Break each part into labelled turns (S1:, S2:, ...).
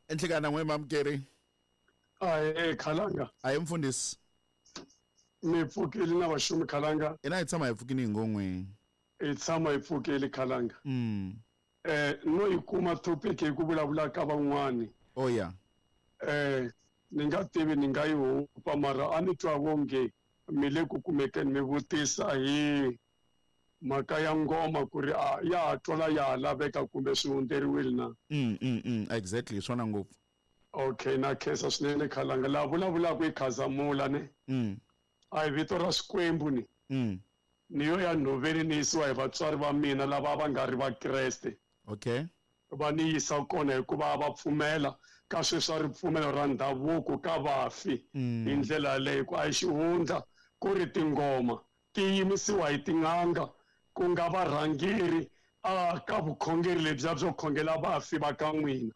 S1: Enhlekana n'we mamukeri.
S2: Ahee khalanga.
S1: Ahee mfundhisi.
S2: Mi pfukile na vaxumi khalanga.
S1: Ina hi tshama hi pfukile hi ngon'we.
S2: Hi tshama hi pfukile khalanga. Eh no yi kuma topic hi ku vulavula ka van'wani.
S1: Oh yeah.
S2: Eh ni nga tivi ni nga yi hupa mara a ni twa wonge mi le ku kumekeni mi vutisa hi mhaka ya ngoma ku ri a ya ha twala ya ha laveka kumbe swi hundzeriwile na.
S1: Exactly swona ngopfu.
S2: Okay na khensa swinene khalanga laha vulavulaka i Khazamula ne. A hi vito ra Xikwembu ni. Ni yo ya nhoveni ni yisiwa hi vatswari va mina lava a va nga ri Vakreste.
S1: Okay.
S2: Va ni yisa kona hikuva a va pfumela ka sweswi swa ripfumelo ra ndhavuko ka vafi hi ndlela yaleyo ku a hi xihundla ku ri tingoma ti yimisiwa hi tin'anga ku nga varhangeri a ka vukhongeri lebyiya byo khongela vafi va ka n'wina.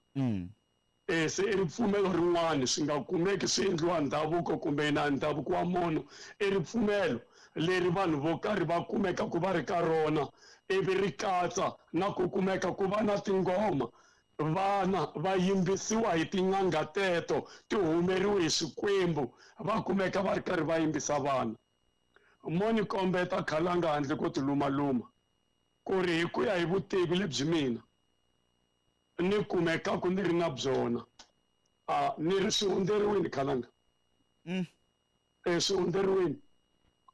S2: E se i ripfumelo rin'wana swi nga kumeki swi endliwa ndhavuko kumbe na ndhavuko wa munhu i ripfumelo leri vanhu vo karhi va kumekaku va ri ka rona ivi ri katsa na ku kumeka ku va na tingoma vana va yimbisiwa hi tin'anga teto ti humeriwe hi swikwembu va kumeka va ri karhi va yimbisa vana mo ni kombeta khalanga handle ko tilumaluma ku ri hi ku ya hi vutivi lebyi mina ni kumekaku ni ri na byona a ni ri swi hundzeriwini khalanga. E swi hundzeriwini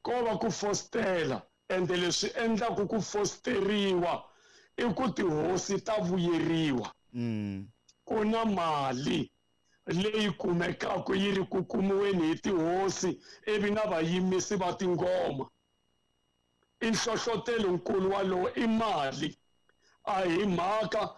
S2: ko va ku fostela ende leswi endlaku ku fosteriwa i ku tihosi ta vuyeriwa. Ku na mali leyi kumekaku yi ri ku kumiweni hi tihosi ivi na vayimisi va tingoma. I nhlohlotelo nkulu walowo i mali a hi mhaka.